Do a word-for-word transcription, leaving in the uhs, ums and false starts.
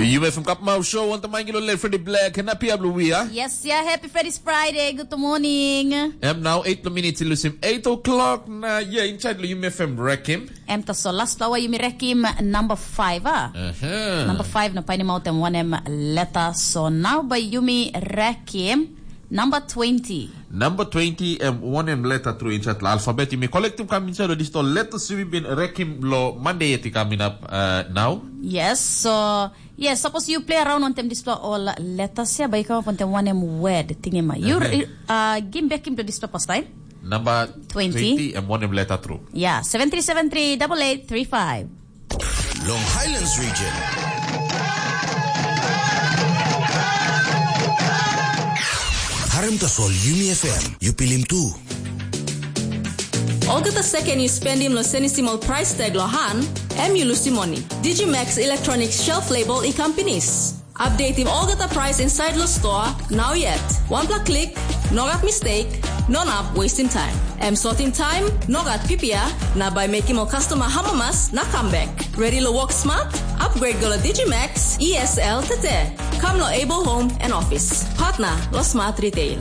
Yumi FM Kapmau Show, wantam aingilo le Freddy Black, na pia blue wia. Yes, yeah, happy Freddy's Friday, good morning. Em now eight minutes ilusim eight o'clock na, yeah, inside lo Yumi FM Rekim. Em ta so last flower Yumi Rekim number five, ah? Uh-huh. Number five na paini mautem wanem letter so now by Yumi Rekim number twenty. Number twenty, em wanem letter through inside lo alphabet. Yumi collectim kam inside lo disto letter Yumi bin Rekim lo Monday yet coming up uh, now. Yes, so yes, suppose you play around on them display all letters ya, by come up on them one em word thing em. You uh, game back him to display first time. Number twenty. twenty, em wanem letter through. Yeah, seven three seven three double eight three five. Long Highlands region. Harim tasol Yumi FM, yu pilim tu. Olgeta second yu spendim lo senisim ol price tag lo han, em yu lusim moni. Digimax Electronics shelf label i kam pinis. Updateim olgeta price inside lo store, now yet. Wanpela klik, no gat mistake, no nap wasting time. Em sortim time, no gat pipia, na by making ol customer hamamas na come back. Ready lo work smart? Upgrade go lo Digimax E S L tete. Come lo Able Home and Office. Partner lo Smart Retail.